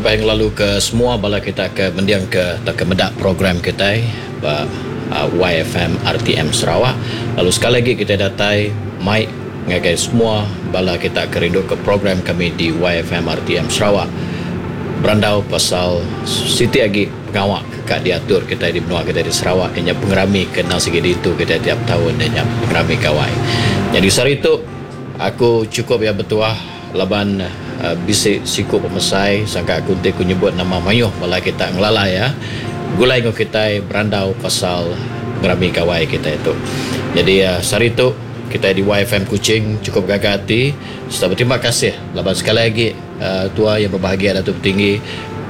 Terubah ngelalu ke semua bala kita ke mending ke tauka meda program kitai ba YFM RTM Sarawak lalu sekali agi kitai datai mai ngagai semua bala kita ke rindu ke program kami di YFM RTM Sarawak berandau pasal siti agi pengawa ke ka diatur kitai di menua kitai di Sarawak iya nya pengerami ke endang sigi diintu kitai tiap taun iya nya pengerami Gawai. Nyadi sehari tu aku chukup iya betuah Laban bisi siku pemesai sangka aku enti ku nyebut nama mayuh bala kita ngelala iya begulai enggau kitai berandau pasal pengerami gawai kitai tu. Nyadi sehari tu kitai di YFM Kuching chukup gaga ati sereta beterima kasih laban sekali agi tua iya bebahagia Datuk Petinggi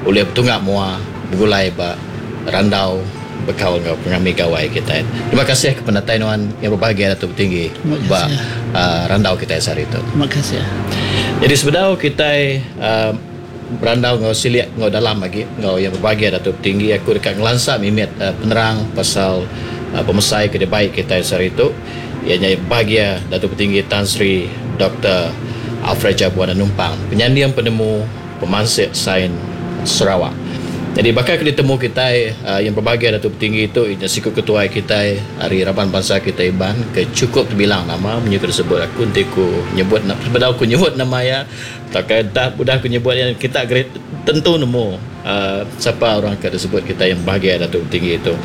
ulih betunga mua begulai ba randau bekaul enggau pengerami gawai kitai. Terima kasih ke penatai nuan yang berbahagia Datuk Petinggi ba randau kitai sehari tu. Terima kasih. Jadi sebedau kitai berandau enggau silik enggau dalam agi enggau yang berbahagia Datuk Petinggi aku deka ngelansa mimit penerang pasal pemesai ke dibai kitai sehari tu iya nya bahagia Datuk Petinggi Tan Sri Doktor Alfred Jabuan Numpang penyanding penemu Pemansik Sains Sarawak. Nyadi baka ke ditemu kitai yang berbahagia Datuk Petinggi tu iya nya siku ketuai kitai ari raban bansa kitai Iban ke chukup tebilang nama munyi ke disebut aku enti ku nyebut sebedau ku nyebut nama iya tauka dah udah ku nyebut iya kita tentu nemu uhh sapa orang ke disebut kitai yang berbahagia Datuk Petinggi tu.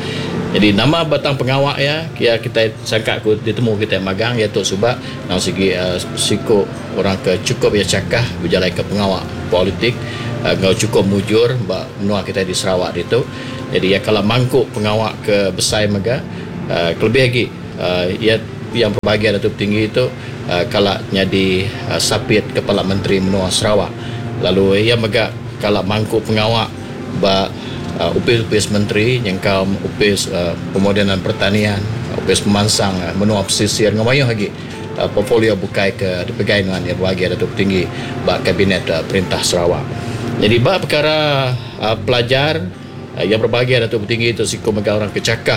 Nyadi nama batang pengawa iya iya kitai sangka ku ditemu kitai magang iya tu suba Nang sigi siku orang ke chukup iya chakah bejalaika pengawa politik enggau chukup mujur ba menua kitai di Sarawak ditu. Jadi iya kala mangku pengawa ke besai mega kelebih agi iya yang berbahagia Datuk Tinggi tu kala nyadi sapit Kepala Menteri menua Sarawak lalu iya mega kala mangku pengawa ba opis-opis menteri nyengkaum Opis Pemodenan Pertanian, Opis Pemansang Menua Pesisir enggau mayuh agi portfolio bukai ke dipegai nuan iya bebagi Datuk Tinggi ba Kabinet Perintah Sarawak. Nyadi ba pekara pelajar iya berbahagia Datuk Tinggi tu siku mega orang ke chakah.